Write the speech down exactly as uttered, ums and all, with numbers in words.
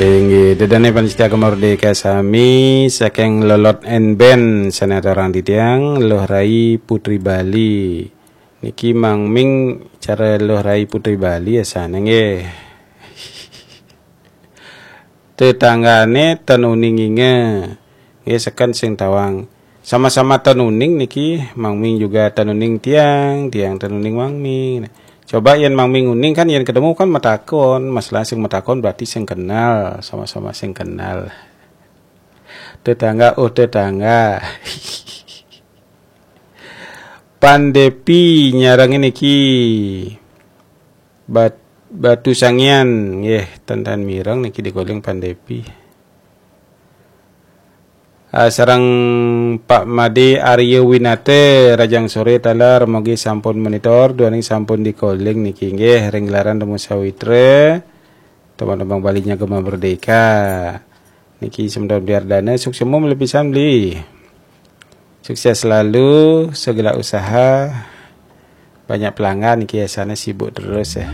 Inggih, ida dané pamiarsa Gema Merdeka sami, saking Lolot and Band, sané aturang titiang, Luh Rai Putri Bali. Niki Mang Ming cara Luh Rai Putri Bali ya sané nggih. Tetanggané ten uning inge. Nggih, seken sing tawang. Sama-sama ten uning niki, Mang Ming juga ten uning tiang, tiang ten uning Mang Ming. Coba yen Mang Ming uning kan, yen ketemu kan matakon, masalah sing matakon berarti sing kenal, sama-sama sing kenal. Tetangga, oh tetangga. Pandepi nyarang niki. Bat-, Batu Sangian, nggih, ten-ten mireng niki dikoling Pandepi. Ah, sareng Pak Made Arya Winata, rajang sore taler, mogi sampun monitor, duaning sampun dikoling niki, nggih, ring gelaran Temu Sawitra, teman-teman Bali nya Gema Merdeka. Niki semeton Biardana, suksma mlebet pisan beli. Sukses selalu, segala usaha, banyak pelanggan niki ya, sana sibuk terus ya.